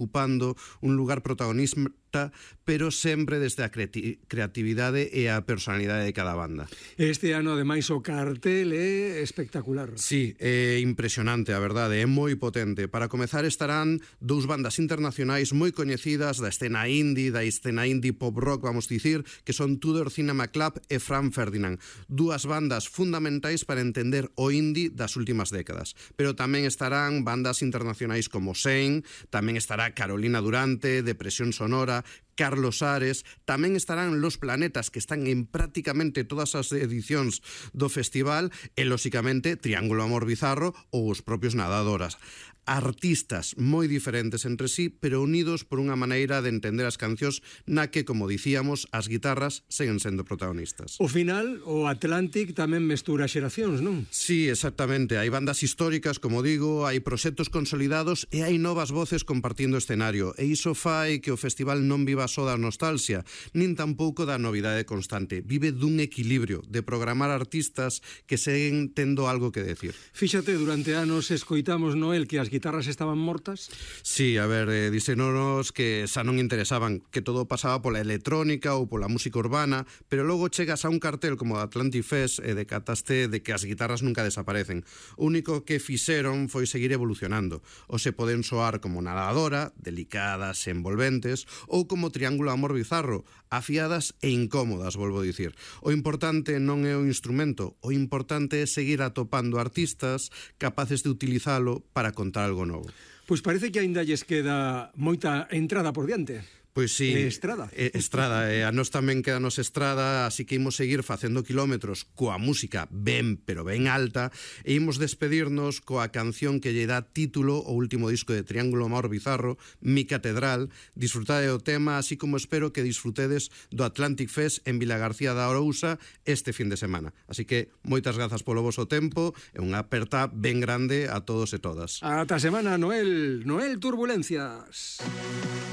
ocupando un lugar protagonista, pero sempre desde a creatividade e a personalidade de cada banda. Este ano, ademais, o cartel é espectacular. Sí, é impresionante, a verdade, é moi potente. Para comezar estarán dous bandas internacionais moi coñecidas da escena indie pop rock, vamos dicir, que son Tudor Cinema Club e Frank Ferdinand, dúas bandas fundamentais para entender o indie das últimas décadas. Pero tamén estarán bandas internacionais como Sein, tamén estará Carolina Durante, Depresión Sonora, Carlos Ares, tamén estarán Los Planetas, que están en prácticamente todas as edicións do festival, e, lóxicamente, Triángulo Amor Bizarro ou os propios Nadadoras. Artistas moi diferentes entre sí, pero unidos por unha maneira de entender as cancións na que, como dicíamos, as guitarras seguen sendo protagonistas. O final, o Atlantic tamén mestura xeracións, non? Sí, exactamente. Hai bandas históricas, como digo, hai proxectos consolidados e hai novas voces compartindo escenario. E iso fai que o festival non viva só da nostalgia, nin tampouco da novidade constante. Vive dun equilibrio de programar artistas que seguen tendo algo que decir. Fíxate, durante anos escoitamos, Noel, que as guitarras estaban mortas? Sí, a ver, díxenonos que xa non interesaban, que todo pasaba pola electrónica ou pola música urbana, pero logo chegas a un cartel como o Atlantic Fest e decataste de que as guitarras nunca desaparecen. O único que fixeron foi seguir evolucionando. O se poden soar como Nadadora, delicadas e envolventes, ou como Triángulo Amor Bizarro, afiadas e incómodas, volvo a dicir. O importante non é o instrumento, o importante é seguir atopando artistas capaces de utilizalo para contar algo novo. Pois parece que aínda lles queda moita entrada por diante. Pois sí, Estrada. Estrada, a nós tamén quedanos estrada, así que imos seguir facendo kilómetros coa música ben, pero ben alta, e imos despedirnos coa canción que lle dá título ao último disco de Triángulo Amor Bizarro, Mi Catedral. Disfrutade do tema, así como espero que disfrutedes do Atlantic Fest en Vilagarcía da Arousa este fin de semana. Así que moitas grazas polo voso tempo e unha aperta ben grande a todos e todas. Ata semana, Noel. Noel Turbulencias.